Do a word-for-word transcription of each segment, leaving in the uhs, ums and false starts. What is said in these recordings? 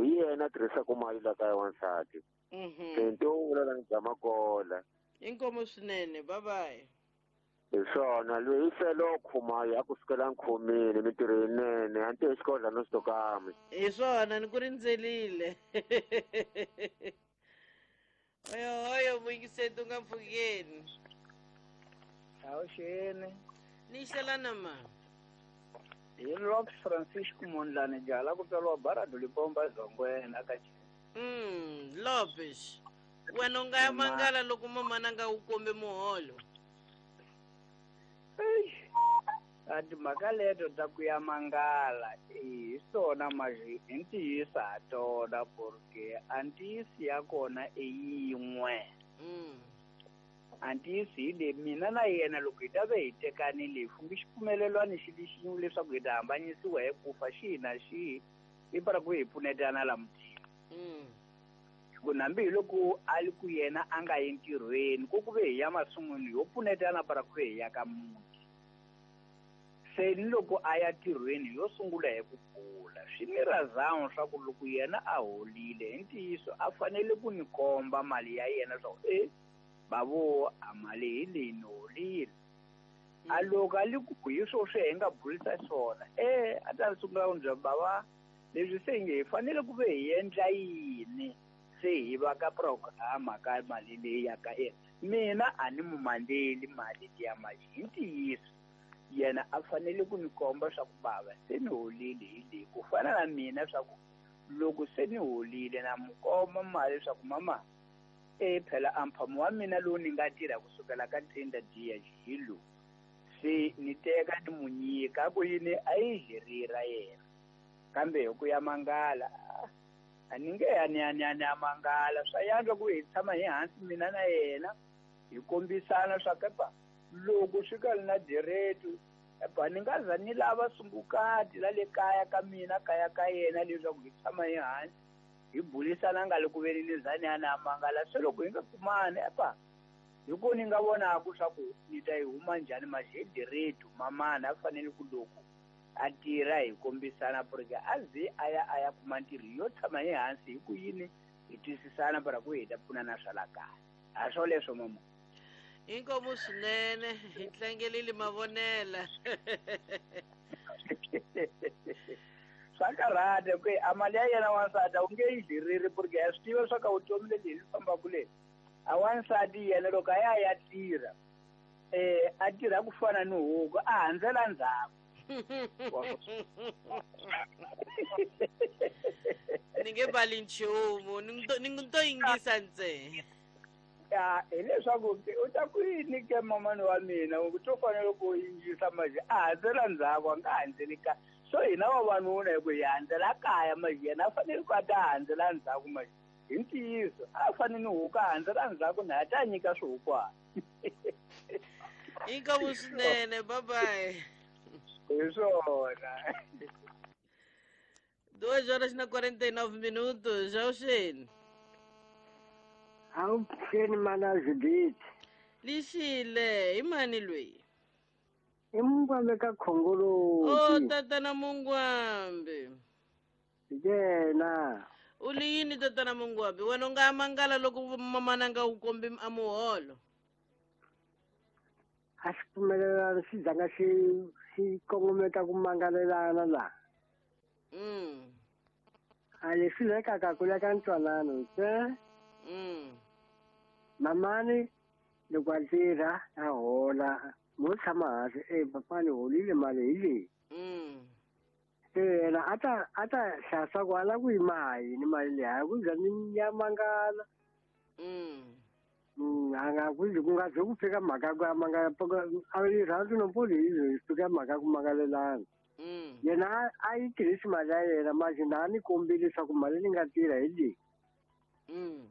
Hi yena a tirhisaka mali la kaya wansati. Mhm. Se nto vula la bya makola. Inkomo swinene, bye bye. Hi swona loyi i felo khumayo a ku sukela nkhomile mintirho yinene a ni tivi xikodla no xitokami. Hi swona ni ku rindzelile. Oyo oyo muyingiseti u nga mpfukeni. Awuxeni. Ni xelana ma. Hi Lopes Francisco Mondlane jala ku tswariwa Barado Lipomba Zongwena ka Mm, Lopes. Wena u nga ya mangala loko mamana a nga wu kombi muholo. A timhaka leto ta ku ya mangala hi swona maji i ntiyiso ha tona porque a ntiyiso ya kona i yin'we. Mm. A ntiyiso hi leyi mina na yena loko hi ta ve hi tekanile hi fumbi xipfumelelwano xi li xin'we leswaku hi ta hambanyisiwa hi ku fa xihi na xihi i para ku hi pfunetana la mutini. Mm. Ku nambi hi loko a li ku yena a nga yi ntirhweni ku ku ve hi ya masun'wini yo pfunetana para ku ve hi ya ka muti. Se ni loko a ya ntirhweni yo sungula hi ku bula swi ni razango swa ku loko yena a holile hi ntiyiso a fanele ku ni komba mali ya yena swa ku e bavo a mali hi leyi ni holile. A loko a li ku hi swo swi hi nga burisa swona e a ta sungula ku ni byela bava leswi se nge hi fanele ku ve hi endla yini se hi va ka programa ka mali leyi ya ka yena. Mina a ni mu mandeli mali liya mali hi ntiyiso yena a fanele ku ni komba swa ku bava se ni holile hi leyi ku fana na mina swa ku loko se ni holile na mu komba mali swa ku mama e phela a mphamo wa mina lowu ni nga tirha kusukela ka tenda diya hi lowu se ni teka ni mu nyika ku yini a yi herira yena kambe hi ku ya mangala a ni nge ya ni ya ni ya ni ya mangala swa yantswa ku hi tshama hi hansi mina na yena hi kombisana swa kepa loko swi ka na direto epa ni nga za ni lava sungukati la le kaya ka mina kaya ka yena leswaku hi tshama hi hansi hi burisana nga le ku veni ni za ni ya ni ya mangala se loko hi nga kumani epa hi ku ni nga vonaku swa ku ni ta yi huma njhani maxi hi direto mamana a fanele ku loko a tirha hi kombisana porque a ze a ya a ya kuma ntirho yo tshama hi hansi hi ku yini hi twisisana para ku hi ta pfunana swa la kaya a swo leswo mama. Inkomo swinene hi tlangelile mavonela. Swa karhata ku a mali ya yena wansati a wu nge yi dliriri porque ya swi tiva swa ka vutomi lebyi hi fambaka le a wansati yena loko a ya ya tirha eh a tirha ku fana ni huku a handzela ndzhaku. Ni nge bali nchumu ni ni to yingisa ntsena. Ya hileswaku u ta ku yini ke mamani wa mina u to fanele ku yingisa manje a handzela ndzhaku a nga handzeli kaya so hina vavanuna hi ku hi handzela kaya manje yena a fanele ku a ta handzela ndzhaku manje hi ntiyiso a fanele ni huku a handzela ndzhaku na a ta nyika swihukwana. Inkomo swinene, bye bye. Hi swona. Duas horas na quarenta e nove minutos, já o Shane. Awuxeni mana Judith. Lixile, i mani loyi? I Mungwambe ka Khongoloti. Oh, tatana Mungwambe. Yena. U li yini tatana Mungwambe? Wena u nga mangala loko mamana nga wu kombi a muholo? A xi pfumelelana xi zanga xi xi kongometa ku mangalelana la. Mm. A leswi lekaka ku leka ntwanano se. Mm. Mamani loko a tirha a hola mo tshama hansi e papa ni holile mali hi leyi. Mm. Se yena a ta a ta hlaya ku a lava ku yima yini mali leyi a ku za ni ya mangala. Mm. Mm, a nga ku ku nga ze ku fika mhaka ku ya mangala a yi rhandzi no poli hi fika mhaka ku mangalelana. Mm. Yena a yi tirhisi mali ya yena manje na ni kombile leswaku mali ni nga tirha hi leyi. Mm.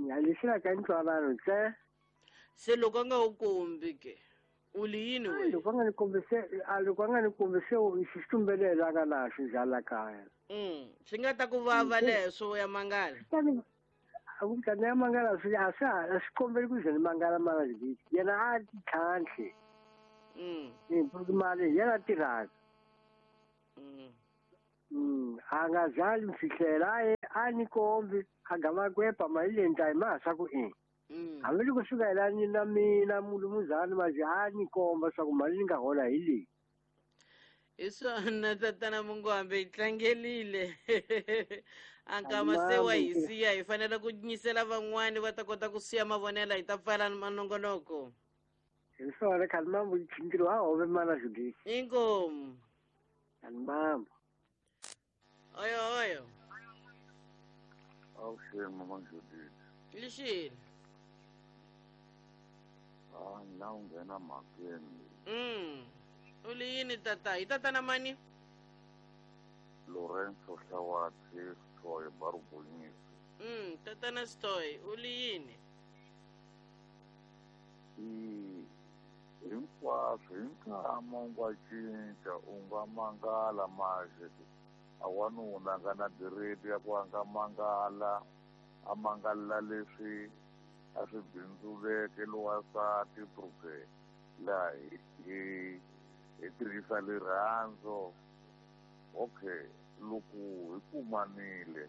Ya lexi ka ntwanano se. Se loko a nga wu kombi ke u li yini we? Loko a nga ni kombi se a loko a nga ni kombi se xi xitumbelelo a nga na xo dlala kaya. Mm. Swi nga ta ku vava leswo ya mangala. A ku ta ya mangala swi a swa a swi kombeli ku ze ni mangala mara Judith yena a ti tlhantlhe. Mm. Ni mali yena tirhaka. Mm. Mm, a nga zali mfihlela a A ni kombi a gama kwepa mali leyi ni ta yi maha ku i. Hambi loko swi nga yelani na mina mulumuzana manje a ni komba swa ku mali ni nga hola hi leyi. Hi swona tatana Mungwambe hi tlangelile. A nkama se wa hi siya hi fanele ku nyisela van'wani va ta kota ku siya mavonela hi ta pfala manongonoko. Hi swona khani mambo ntirho wa hove mana Judith. Inkomu. Khani mambo. Oyo oyo. Avuxeni mama Judith. Lixini. Ah, na u nghena mhakeni. Mm. U li yini tata? Hi tatana mani? Lorenzo Hlawati Stoy Barubonyisi. Mm, tatana Stoy, u li yini? I hinkwaswo hi nkama u nga cinca u nga mangala manje a wanuna a nga na direti ya ku a nga mangala a mangalela leswi a swi bindzuleke lowansati pruke laha hi hi tirhisa rirhandzu. Okay, loko hi kumanile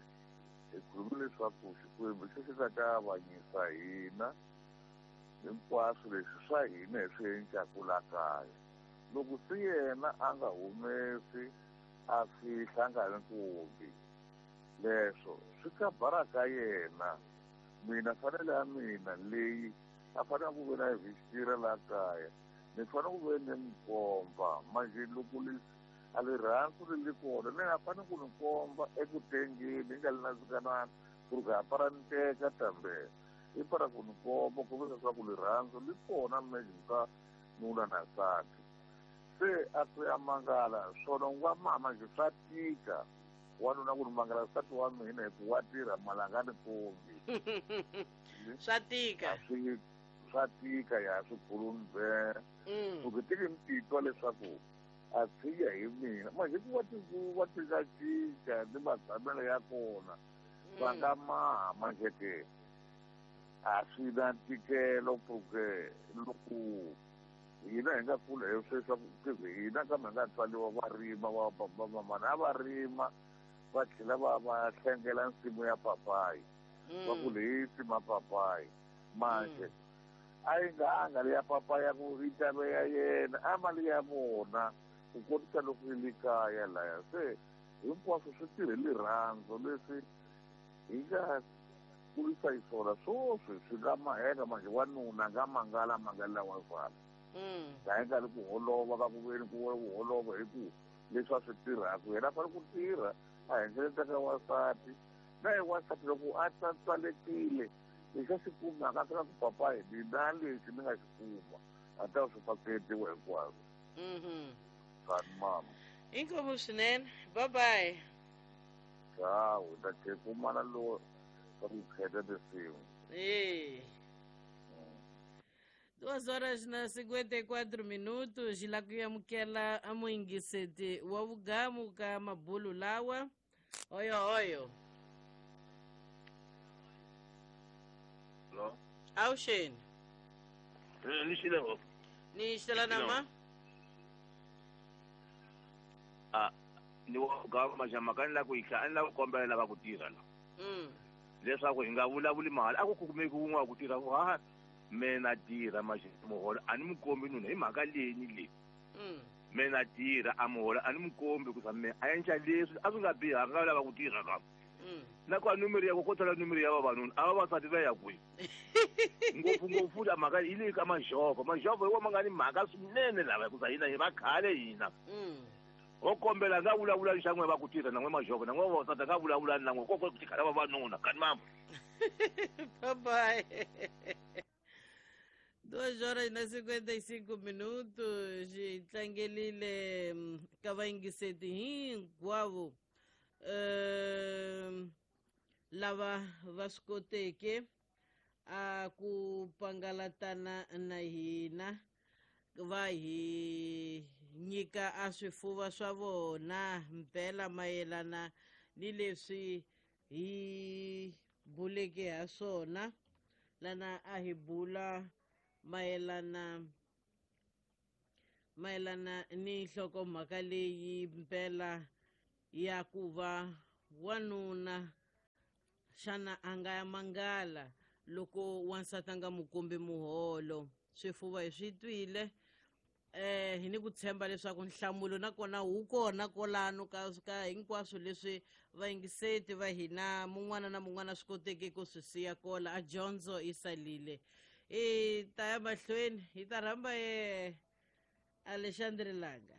hi khulume leswaku Xikwembu xi xi nga ta avanyisa hina hinkwaswo leswi swa hina hi swi endlaku la kaya. Loko se yena a nga humesi a fihla a nga ni kombi leswo swi ka bara ka yena. Mina fanele ya mina leyi a fanele ku ve na visitira la kaya ni fanele ku ve ni mi komba manje loko leswi a rirhandzu ri li kona ni nga fanele ku ni komba eku tengeni ni nga li na zikanana ku ri ka para ni teka tambe i para ku ni komba ku ve leswaku rirhandzu li kona mejeni ka nuna na nsati. Se a ku ya mangala swona u nga mama nje swa tika wanuna ku ni mangala nsati wa mina hi ku wa tirha mali a nga ni kombi. Swa tika. Swi swa tika ya swikhulumi be. Loko tiki ni titwa leswaku a tshiya hi mina manje ku wa tinguva ti nga cinca ni matshamelo ya kona va nga maha manje ke a swi na ntikelo pruke loko hina hi nga kula hi sweswaku hina kambe hi nga tswariwa va rima va vamamana a va rima va tlhela va va hlengela nsimu ya papayi va ku leyi nsimu papayi manje a yi nga anga leya papayi ya ku yi ta ve ya yena a mali ya vona ku kotisa loko yi le kaya laya. Se hinkwaswo swi tirhe rirhandzu leswi hi nga kulisa hi swona swoswi swi nga maheka manje wanuna a nga mangala mangalela wansati. La hi nga ri ku holova ka ku veni ku ku holova hi ku leswi a swi tirhaka yena a fanele ku tirha a hengeletaka ka wansati na hi wansati loko a tswalekile lexi a xi kumaka a fika ku papa hi mina lexi ni nga xi kuma a ta swi faketiwa hinkwaswo. Kani mama. Inkomu swinene. Bye bye. Ciao, ta tlhe kumana lo ka ku kheta tinsimu. Eh. Duas horas na cinquenta e quatro minutos, la ku amukela a muyingiseti wa vugamu ka mabulu lawa. Oyo oyo. Hello. Awuxeni. Ni xile ngopfu. Ni xela na ma? Ah, ni wa vugamu majama ka ni la ku yihla a ni la ku kombela lava ku tirha la. Mm. Leswaku hi nga vulavuli mali a ku kumeki wun'we wa ku tirha ku ha mina tirha manje muholo a ni mu kombi nuna hi mhaka leyi ni leyi. Mm. Mina tirha a muholo a ni mu kombi ku sa me a endla leswi a swi nga bihanga nga lava ku tirha ka. Mm. Na kwa numero ya ku kotala numero ya vavanuna a vavasati va ya kwihi. Ngopfu ngopfu la mhaka yi le ka majovho majovho hi wona ma nga ni mhaka swinene lava hikuza hina hi va khale hina. Mm. Ho kombela nga vulavula xa n'we va ku tirha na n'we majovho na n'we vavasati nga vulavula na n'we koko ku tikhala vavanuna kani mama. Bye bye. Duas horas na cinquenta e cinco minutos, tlangelile ka vayingiseti hinkwavo um lava va swi koteke a ku pangalatana na hina va hi nyika a swifuva swa vona mpela mayelana ni leswi hi buleke ha swona lana a hi bula mayelana mayelana ni nhlokomhaka leyi mpela ya ku va wanuna Xana a nga ya mangala loko wansati a nga mu kombi muholo? Swifuva hi swi twile, eh hi ni ku tshemba leswaku nhlamulo nakona wu kona kolano ka ka hinkwaswo leswi vayingiseti va hina mun'wana na mun'wana swi koteke ku swi siya kola a dyondzo yi salile. Hi ta ya mahlweni hi ta rhamba ye Alexandre Langa.